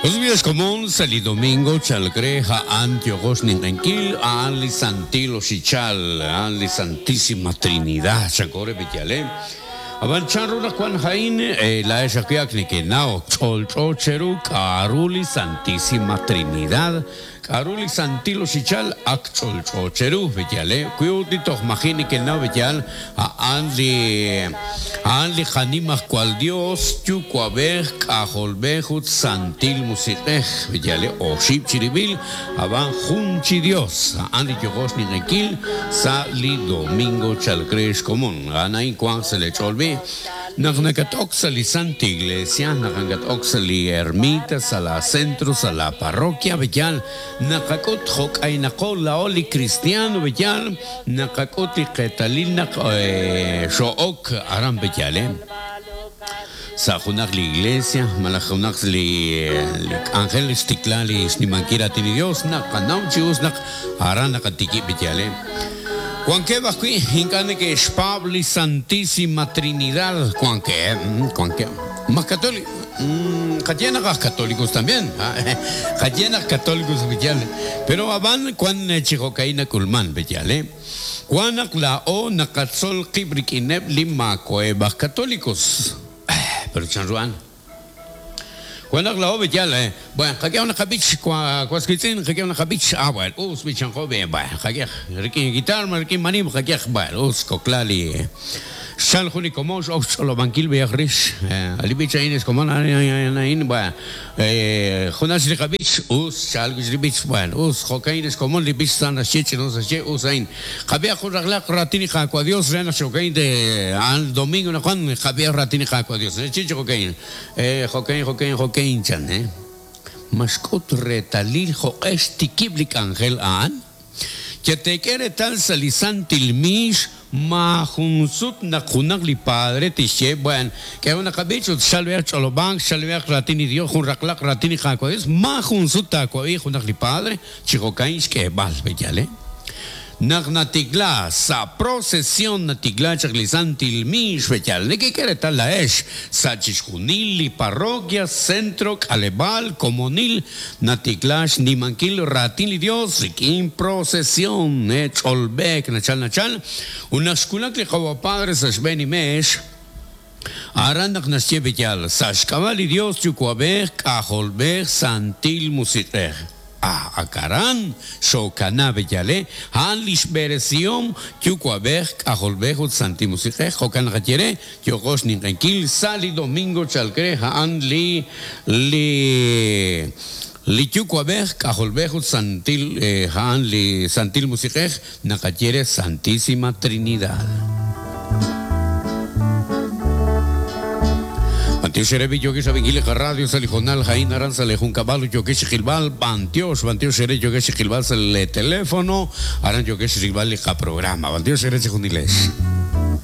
Us b'i' ex komon, sa' li domingo chalk re a'an yooqo xninq'enkil, a'an li Santil Oxichal, a'an li Santísima Trinidad, chanko re b'iyale. Ab'an chanru naq wank a'in, laa'ex ajwi' ak nekenaw, ch'olch'o cheru k'a'ru li Santísima Trinidad, K'a'ru li Santil Oxichal ak ch'olch'o cheru, b'eyal, eh? Wi ut li toj maji' nekenaw, b'eyal, a'an li, a'an li qaNimajwal Dios, Yuwa'b'ej, K'ajolb'ej, ut Santil Musiq'ej, b'eyal, eh? Oxib' chirib'il, a'b'an jun chi Dios. A'an li yooqo xninq'enkil sa' li domingo chalk re xkomon. A'an a'in wanq sa' lee ch'ool b'i'. Naq nakat-ok sa' li Santa Iglesia, naq nakat-ok sa' li ermita, sa' laa centro, sa' laa parroquia, b'eyal, naqak'ut jo' k'aynaqo laa'o li kristiano, b'eyal, naqak'ut li qeetalil naq xoo'ok aran, b'eyal, sa' junaq li iglesia malaj junaq li k'anjel xtikla li xnimankil raatin li Dios, naqanaw chi us naq aran naqatikib', b'eyal. Wankeb' ajwi' ink'a' neke'xpaab' li Santísima Trinidad. Wankeb', wankeb'. Ma katoliko? Qaye naq aj katolikos también. Qaye naq katolikos b'eyal. Pero ab'an wan chi jo'ka'in nak'ulman b'eyal, eh. Wan naq laa'o naqatzol qib' rik'ineb' li maako'eb' aj katolikos. Pero chanru a'an? Wan naq laa'o b'eyal, eh. Bueno, qak'ehaq naq qab'ich, was wiitz'in, qak'ehaq naq qab'ich, ah, bueno, us b'ichanqo b'e, bueno, qak'ehaq rik'in guitar ma rik'in manim, qak'ehaq, bueno, us kokla li xchal jun li komon x'ok xch'olob'ankil b'eyaq rix li b'ich a'in ex komon, a'in, a'in, bueno, Junas li qab'ich, us xcha'al wi' li b'ich, bueno, us, jo'ka'in ex komon li b'ich sa naxye ch'inus naxye, us a'in. Qab'ihaq jun raqlaq raatin li Qaawa' Dios re naq chi jo'ka'in te a'an domingo naq wan, qab'ihaq raatin li Qaawa' Dios. Naxye chi jo'ka'in, jo'ka'in, jo'ka'in, jo'ka'in chan, Ma xk'ut reetalil jo'q'e xtikib' li k'anjel a'an? Cheteek'e reetal sa' li santil miix maajun sut naq junaq li padre tixye, Bueno, k'ehom naqab'ich ut xchalb'ehaq ch'olob'ank, xchalb'ehaq raatin li Dios, jun raqlaq raatin li Qaawa' Dios, maajun sut taawab'i junaq li padre chi jo'ka'in xk'eeb'al, b'eyal, eh? Naq natikla sa' procesión natikla chaq li santil miix, b'eyal, nekek'e reetal laa'ex sa' chixjunil li parroquia, centro, k'aleb'aal, komonil, Natikla xnimankil raatin li Dios rik'in procesión, ch'olb'eek nachal nachal, ut naq xwulak li Qawa' Padre sa' xb'een li meex, aran naq naxye b'eyal, sa' xk'ab'a' li Dios Yuwa'b'ej, K'ajolb'ej, Santil Musiq'ej. Ah, ak aran xookana b'eyal, a'an lix b'eresihom Yuwa'b'ej, K'ajolb'ej ut Santil Musiq'ej, jo'kan naqaye re, Yooqo xninq'enkil sa' li domingo chalk re a'an li li li Yuwa'b'ej, K'ajolb'ej ut Santil a'an li Santil Musiq'ej naqaye re Santísima Trinidad. B'antiox eere b'i' yookex rab'inkil li qaradio sa' li hoonal a'in aran sa' lee junkab'al ut yookex chi qilb'al b'antiox, b'antiox eere yookex chi qilb'al sa' lee telefono aran yookex rilb'al li qaprograma. B'antiox eere chejunilex.